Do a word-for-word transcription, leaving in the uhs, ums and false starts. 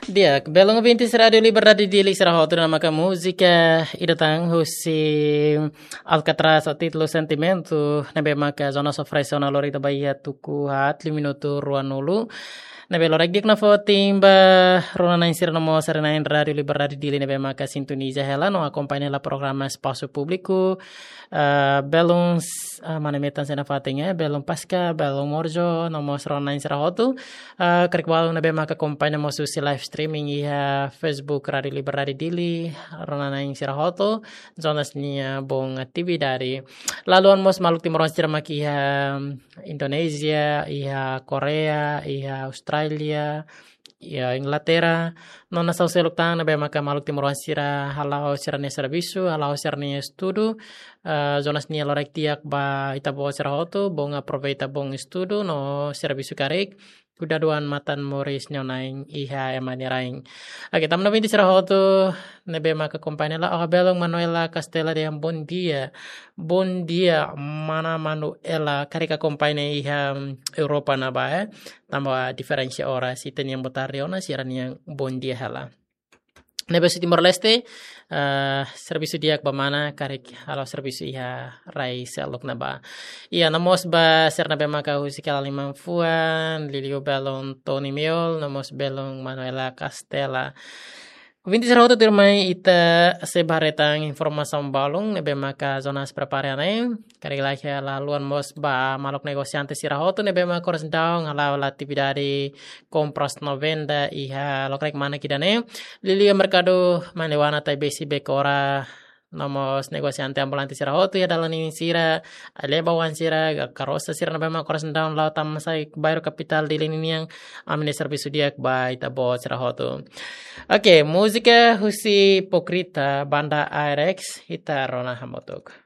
Di'ak, belun ouvintes Rádiu Liberdade Dili sira hotu, ne'e maka múzika ida tan husi Alcatraz ho títulu Sentimentu, ne'ebé maka Jonas oferese ona lori ita ba iha tuku haat liu minutu ruanulu. Ne'ebé loraik di'ak ona fó tempu ba rona-na'in sira no mós sira-nia Rádiu Liberdade Dili ne'ebé maka sintoniza hela no akompaña hela programa Espasu Públiku. Ah, belun s-, ah, mana metan sena fatin, eh, belun Paska, belun Morjo, no mós rona-na'in sira hotu. Ah, karik balu ne'ebé maka akompaña mós husi live streaming iha Facebook Rádiu Liberdade Dili, rona-na'in sira hotu, Jonas nia bom atividade. Lalu mós maluk timoroan sira mak iha Indonézia, iha Korea, iha Austrália, iha Inglaterra, no nasaun seluk tan ne'ebé maka maluk timoroan sira hala'o sira-nia servisu, hala'o sira-nia estudu, eh, Jonas nia loraik di'ak ba ita-boot sira hotu, bom aproveita bom estudu no servisu karik, kuda duan matan moris nia na'in iha ema nia rain. Oke, tanba ne'e ouvintes sira hotu ne'ebé maka akompaña hela, oh, belun Manuela Castela dehan bom dia. Bom dia, mana Manuela, karik akompaña iha, mm, Europa ne'ebá, eh. Tanba diferensa oras, ita-nian boa tarde ona, sira-nian bom dia hela. Ne'ebé husi Timor-Leste, eh, servisu di'ak ba mana, karik hala'o servisu iha rai seluk ne'ebá. Iha, no mós ba sira ne'ebé maka husi kala liman fuan, liuliu belun Tony Miol, no mós belun Manuela Castela. Ouvintes sira hotu, tuirmai ita sei ba haree tan informasaun balun ne'ebé maka Jonas prepara ne'e. Karik laiha lalu mós ba maluk negosiante sira hotu ne'ebé maka oras daudaun hala'o atividade kompras no venda iha lokraik manak ida-ne'e. Liuliu merkadu Manewana, Taibesi, Bekora, no mós negosiante ambulante sira hotu iha dalan ninin sira, ai-leba oan sira, ka-, karosa sira ne'ebé maka oras daudaun la'o tama sai bairru kapitál Dili ninian, ami-nia servisu di'ak ba ita-boot sira hotu. Oke, múzika husi Hipócrita, banda Aerex, ita rona hamutuk.